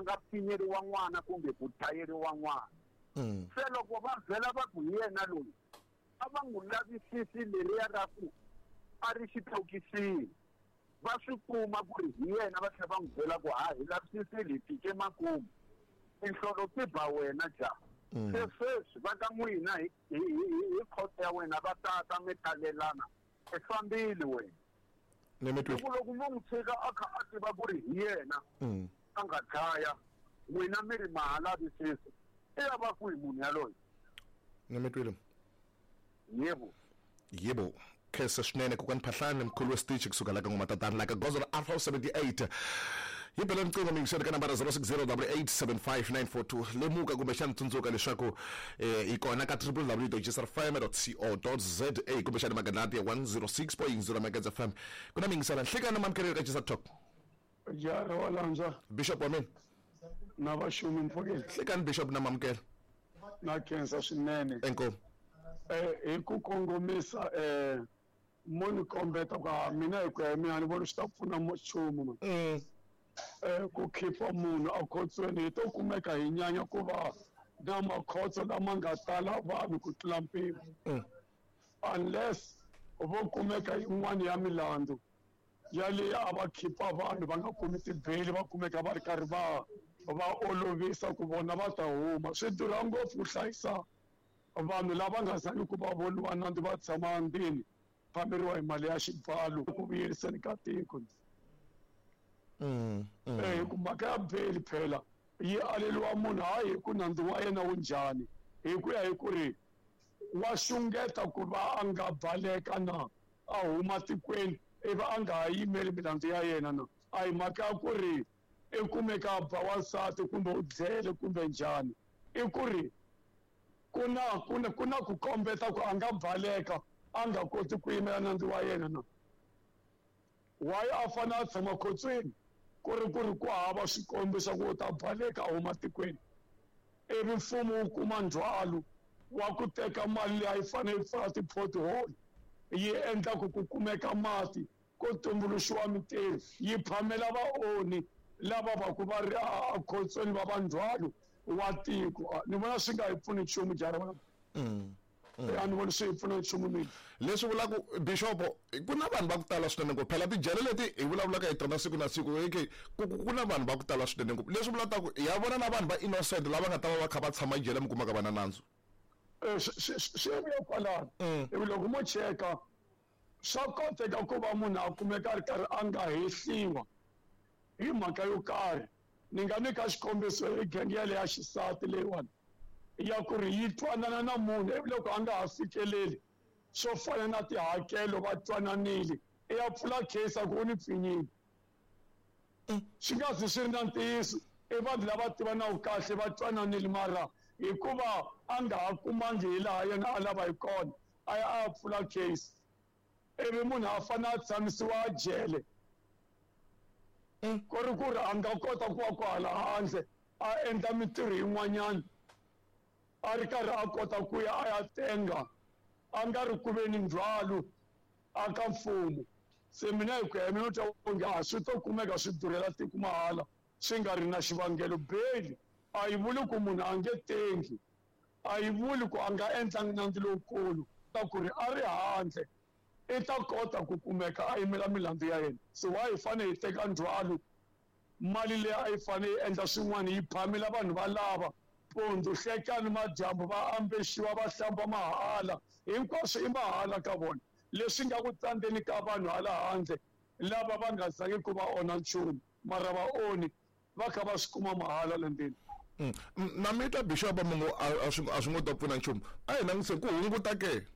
a nga pfinyeriwa n'wana kumbe ku dlayeriwa n'wana. Se loko va vhela va ku hi yena loyi, a va n'wi lavisisi leriya ra ku a ri xitokisini, va swi kuma ku ri hi yena, va tlhela va n'wi byela ku ha hi lavisisile hi fike makumu, tinhlolo ti ba wena jaha. Se sweswi va ka n'wina hi khoto ya wena va tata mi talelana, i fambile wena. Ni mi twi. Loko mo n'wi tshika a kha a tiva ku ri hi yena a nga dlaya, n'wina mi ri ma ha lavisisi, i ya va kwihi munhu yaloye? Ni mi twile. Yebo. Yebo. Khensa swinene kokwani Phahlane, mkhulu wa Stitch kusuka la ka Ngoma Tatana la ka goza ra Alpha 78. Yi bela riqingho miyingiseri ka nambara 0608875942. Lemuka kumbexana tsundzuka leswaku hi kona ka www.gsrfm.co.za kumbexana magandlati ya 106.0 Megahertz FM. Ku na miyingisela nhlekani mamukeri ka GSR Talk. Jara wa landzwa. Bishop wa mina. Na vaxumi mpfukeni. Nhlekani Bishop na mamukela. Na khensa swinene. Inkomu. Hi ku kongomisa mo ni kombeta ku mina hi ku ya hi mina ni vona swi ta pfuna nchumu. Ku khipha munhu akhotsweni hi to kumeka hi nyanya ku va na makhotso lama nga tala vanhu ku tlula mpimo. Unless vo kumeka yin'wana ya milandzu yaleyi a va khipha vanhu va nga kumi tibeli, va kumeka va ri karhi va olovisa ku vona va ta huma. Swi durha ngopfu ku hlayisa vanhu lava nga zangi ku va voniwa nandzu va tshama ndzeni, phameriwa hi mali ya xibalo ku vuyeriseni ka tiko. Hi ku mhaka ya beli phela yi aleriwa munhu hayi hi ku nandzu wa yena wu njhani, hi ku ya hi ku ri wa xungeta ku va a nga baleka na a huma tikweni ivi a nga ha yimeli milandzu ya yena na. A hi mhaka ya ku ri i kumeka a ba wansati kumbe u dlele kumbe njhani, i ku ri ku na ku kombeta ku a nga baleka a nga koti ku yimela nandzu wa yena na. Why a fanele a tshama khotsweni ku ri ku ri ku hava swikombiso ku u ta baleka a huma tikweni, ivi mfumo wu kuma ndzhwalo wa ku teka mali leyi a yi fanele yi pfala ti-pothole, yi endla ku ku kumeka mati, ku tumbuluxiwa mintirho, yi phamela vaonhi lava va ku va ri akhotsweni va va ndzhwalo wa tiko. Ni vona swi nga hi pfuni nchumu jara wa. A ni voni swi hi pfuna nchumu mina. Leswi vulaka Bishop, ku na vanhu va ku tala swinene ngopfu. Phela tijele leti hi vulavulaka hi tona siku na siku, ku na vanhu va ku tala swinene ngopfu. Leswi vulaka ku ya vona na vanhu va innocent lava nga ta va va kha va tshama jele mi kumaka va na nandzu. Swi vuya kwalano. Ivi loko mo cheka swa koteka ku va munhu a kumeka a ri karhi a nga hehliwa hi mhaka yo karhi. Ni nga nyika xikombiso hi genge yaleyo ya xisati leyiwani ya ku ri yi twanana na munhu ivi loko a nga ha fikeleli swo fana na tihakelo va twananile, i ya pfula case a ku u ni pfinyile. Swi nga zi swi ri na ntiyiso, i vanhu lava tivanaka kahle va twananile, mara hikuva a nga ha kumangi hi laha yena a lava hi kona a ya a ya pfula case, ivi munhu a fanele a tshamisiwa jele. Ku ri ku ri a nga kota ku va kwahala handle a endla mintirho yin'wanyana a ri karhi a kota ku ya a ya tenga, a nga ri ku ve ni ndzhwalo a ka mfumo. Se mina hi ku ya hi mina twa onge a swi to kumeka swi durhela tiko mahala swi nga ri na xivangelo. Beli a yi vuli ku munhu a nge tengi, a yi vuli ku a nga endlangi nandzu lowukulu, ta ku ri a ri handle i ta kota ku kumeka a yimela milandzu ya yena. Se why hi fanele hi teka ndzhwalo mali leyi a yi fanele yi endla swin'wana yi phamela vanhu va lava pondzu hlekani madyambu va ambexiwa va hlamba mahala, hinkwaswo i mahala ka vona. Leswi nga ku tsandzeni ka vanhu hala handle lava va nga zangi ku va onha nchumu, mara vaonhi va kha va swi kuma mahala le ndzeni. Na mi twa Bishop mungu a swi ngo ta pfuna nchumu. A hi langutise ku hunguta ke.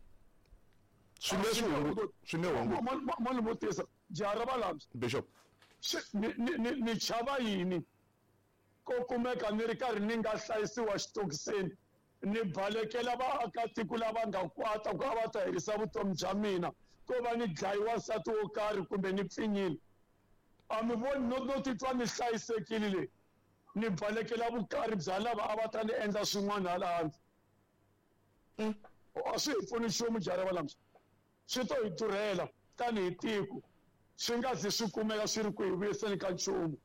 Swi nge swi hunguta, swi nge hunguta. Mo ni vutisa, jaha ra valambye. Bishop. Ni chava yini ko kumeka ni ri karhi ni nga hlayisiwa xitokiseni, ni balekela vaakatiko lava nga kwata ku a va ta herisa vutomi bya mina, ko va ni dlayiwa nsati wo karhi kumbe ni pfinyile. A mi voni no titwa ni hlayisekile le, ni balekela vukarhi bya lava a va ta ni endla swin'wana hala handle. A swi hi pfuni nchumu jaha ra valambye, swi to hi durhela tanihi tiko, swi nga zi swi kumeka swi ri ku hi vuyiseni ka nchumu.